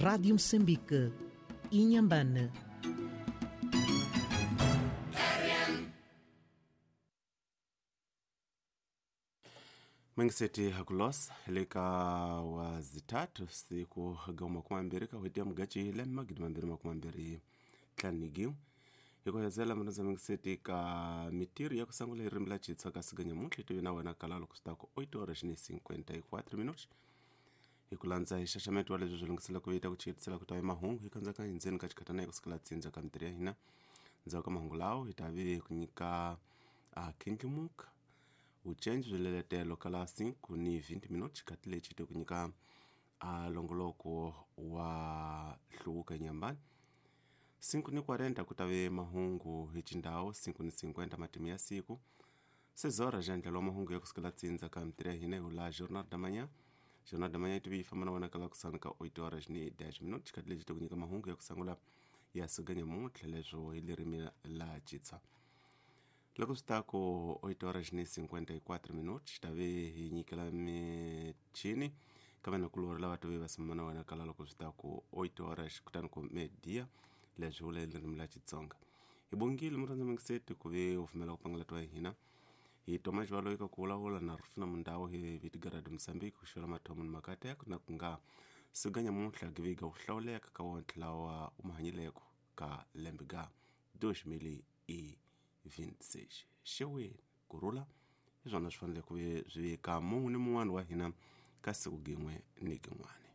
Rádio Moçambique, Inhambane. Mengiseti hakulosa leka wa zitatu siku gauma 20 kahwetia mugachi le magidi 2025 hikohezela minoza mengiseti ka mitiri ya kusangula irimi la chitsa ka siganya mutlhi tivi na wena kalalo kusitako 8 horas ni 54 minutos hi ku landza hi xaxameto wa leswi swi lunghisela ku vita ku chiyitisela ku ta mahungu hi kandzaka hindzeni ka xikhatana hi kusikela tsindza ka mitirhi ya hina ndzhaku ka mahungu lawo hi ta vi ku nyika a khindlimuka vucenji bya leletelo ka la 5 ni 20 minutos xikati lexi te ku nyika a longoloko wa hluvuka enyambani 5 ni 40 ku ta ve mahungu hi xindhawu 5 ni 50 matimu ya siku sezora xa ndlela wa mahungu ya kusukela tsindza ka mitirhi ya hina hi la jornal da manhã jornal da manhã yi tivi yi famba na wena kala kusana ka 8 horas ni 10 minutos xikati lexi te ku nyika mahungu ya kusangula ya suganya muntlha leswo hi ririmi la xitswa loko swi ta ku 8 horas ni 54 minutos ta ve hi nyikela michini ka vanhu lava tive va simama na wena kala loko swi ta ku 8 horas kutani ku media leswi vula ririmi la xitsonga hi bongile murhandza mingiseti ku ve u pfumela ku pangala twa hina hi toma xivalo eka ku vulavula na rufina mundawu hi vitigarado mosambiki ku xivela mathomo ni makateko na ku nga suganya muntlha giviga ku hlawuleka ka wontlhe lawa u mahanyileko ka lembe ga 2026 xeweni kurhula hi swona swi fanele ku ve swi veka mun'we ni mun'wana wa hina ka siku gin'we ni gin'wana.